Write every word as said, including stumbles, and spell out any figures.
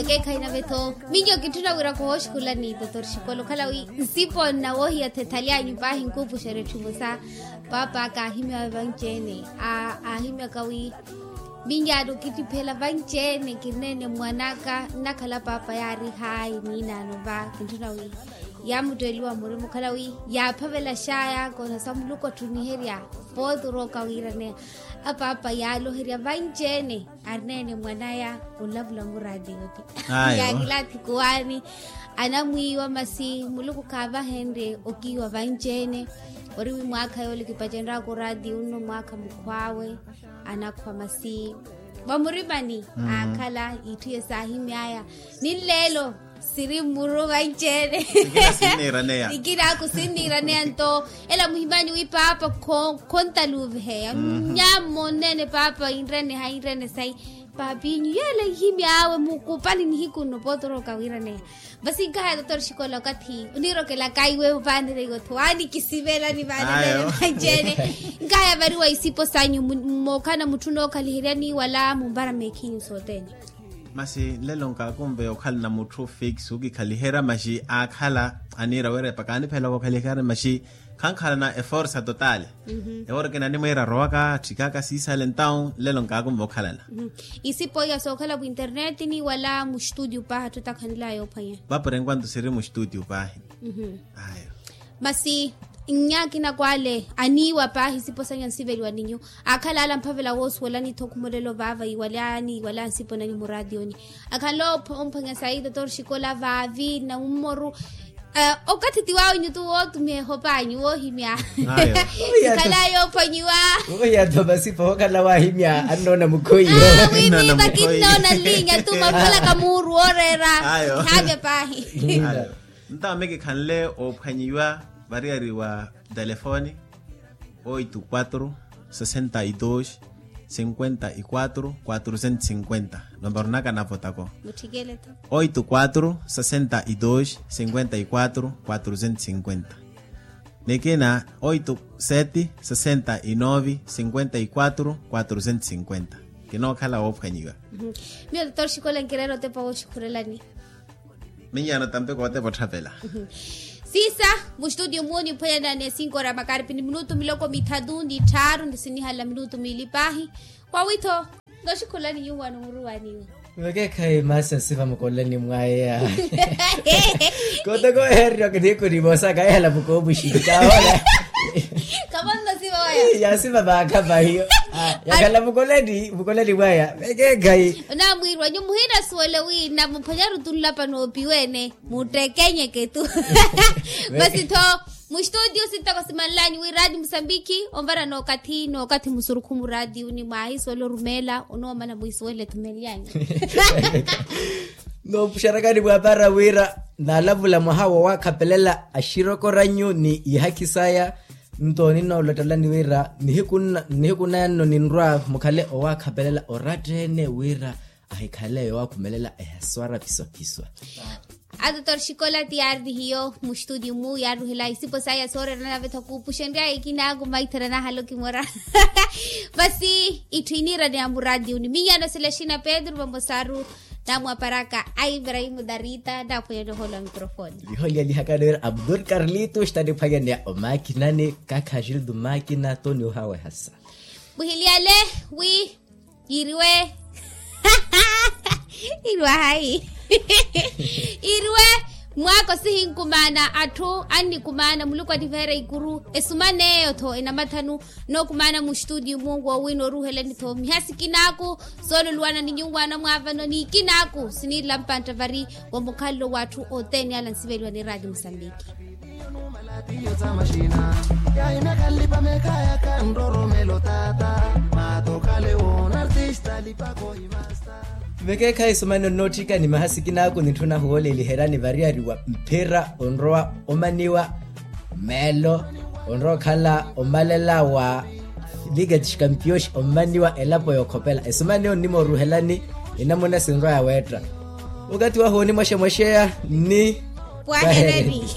Ekeekhayi nave-tho, miyo kitthuna wira kooxukhulani totor xikola okhala wi nsipo nnawohiya-tho ethalyanyu paahi nkuupuxerya etthu emosa. Paapa kaahimyawe vanci-ene. Aahimyaka wi miyo aari okittiphela vanci-ene kirineene mwan'aka nnakhala paapa yaari haayi niinaano va. Kintthuna wi yaamutteeliwa murima okhala wi yaaphavelaxaya koona sa muluku atthuniherya. Pooti orooka wiiraneya apaapa yaaloherya vanci-ene. Arineene mwan'aya onlavula muraatiyo ti yaakilaathi kuwaani. Anamwiiwa masi muluku khaavahenrye okiiwa vanci-ene. Ori wi mwaakha yoole kipacenry'aka oraatiyo nno mwaakha mukhw'awe. Anakhwa masi vamurimani aakhala itthu ye saahimy'aya. Ni nleelo siri mmuru vanci-ene. Ikinaku sinniiraneya nto ela muhimanyu wi paapa khontaluuviheya. Nyaammo nneene paapa inreene hayi inreene sayi. Paapinyu yeela ihimy'awe mukupali nihiku nno pooti orooka wiiraneya. Vasi nkahaya totor xikola okathi oniirokela kaiwe vaanire iwe-tho waanikisivelani vaanire vanci-ene. Nkahaya variwa isipo sanyu mookhala mutthu nookhaliheryani wala mumpara meekhinyu sothene. Masi nlelo nkaakunve okhalana mutthu fix okikhaliherya maxi aakhala aniira wira epa kaanipheelaka okhaliherya maxi khankhalana eforsa totale. Ewooreke nanimwiira arowaka atthikaka siisale entawu nlelo nkaakunve okhalana. Isipo iya sookhala muinternetini wala mustudio paahi atthu takhanilaya yoophwanya. Vapurenkwanthu siri mustudio paahi. Ayo. Masi nyaakina kwale aniiwa paahi sipo sanya nsiveliwa ninyu. Aakhala ala mphavela woosuwelani-tho khumolelo vaava iwalani iwala nsipo nanyu muraatiyoni. Akhala omphwanya sayi totor xikola vaavi na mummoru. Okathi ti waawe nyutu wootumiha ehopanyu woohimya. Ikhala yoophwanyiwa. Wohiya-tho masi poohokhala waahimya annoona mukhoyi. Winiiva kinnoona nlinya tu maphalaka muuru wooreera. Haavya paahi. Ntawo mikikhanle oophwanyiwa variyari wa telefoni. Oito quatro sessenta e dois cinquenta e quatro quatrocentos cinquenta. Nombaru naka na votako. Oito quatro sessenta e dois cinquenta e quatro quatrocentos cinquenta. Nikina oito sete sessenta e nove cinquenta e quatro quatrocentos cinquenta. Kinookhala woophwanyiwa. Miyo totor xikola nkireera otepa wooxukhurelani. Minyaano tampe kootepa otthapela. Siisa mustudio muwo niphwanyana ni esinkoora makaripi ni minutu miloko mithatu ni tthaaru ni sinihala minutu miili paahi. Kwawi-tho noxukhulani nyuwaano muruwaniwe. Vekeekhayi masi asiva mukolani mwaya. Kotoko eheryo kinikunimosa kayehala mukoomuxinta ola. Khamonno siva waya. Yasiva vaakha vahiyo. Yakhala mukolani mukolani mwaya vekeekhayi. Onamwiirwa nyu muhinasuwele wina muphwanyaru tunlapa noopiwa ene. Muttekenyeke tu. Masi-tho mustudio sintoko simanlanyu wi raati musambiki onvara nookathi nookathi musurukhu muraati uni mwaahisuwela orumeela onoomana mwiisuwele thumelyanyu. Noopuxerakani mwaapara wira naalavula mwaha woowaakhapelela axirokoranyu ni ihakhi saya. Nto ninoolottelani wira nihiku naya nno ninrwa mukhale owaakhapelela oratta-ene wira ahikhale yoowakhumelela ehaswara phiswa-phiswa. Atotor xikola ti yaari ni hiyo mustudio mu yaaruhela isipo saya sooreera nave-tho kuupuxenrya ikinaaku maithara nahala okimora. Vasi itthu iniiraneya muraatiyo ni minyano sila xina pedro vamosaru. Namwaparaka a ibrahim darita naaphwanyani ohoolo wa mikrofoni. Liholyalihaka niwira abdul karlito xitaniphwanyaneya omakinani kakha xildu makina toni ohawehasa. Muhiliyale wi yiriwe yiriwe hayi yiriwe. Mwaako sihinkumaana atthu annikumaana muluku anniveera ikuru esumaneeyo-tho enamathanu. Nookumaana muxitudiyu mungu wowina oruuhelani-tho miha sikinaaku soololuwana ni nyuwaana mwaavano ni ikinaaku siniirila mpantta vari wa mukhalelo w'atthu othene ala nsiveliwa ni raati musambiki. Vekeekhayi sumani onnootthika ni maha sikinaaku nitthuna huwooleliherani variyari wa mphira onrowa omaniwa meelo onrowa okhala omalela wa liga tixkampiyooxi ommaniwa elapo yookhopela esumani onnimooruhelani enamuna sinrowa yaweetta. Okathi wahu onimwexemwexeya ni pwahereni.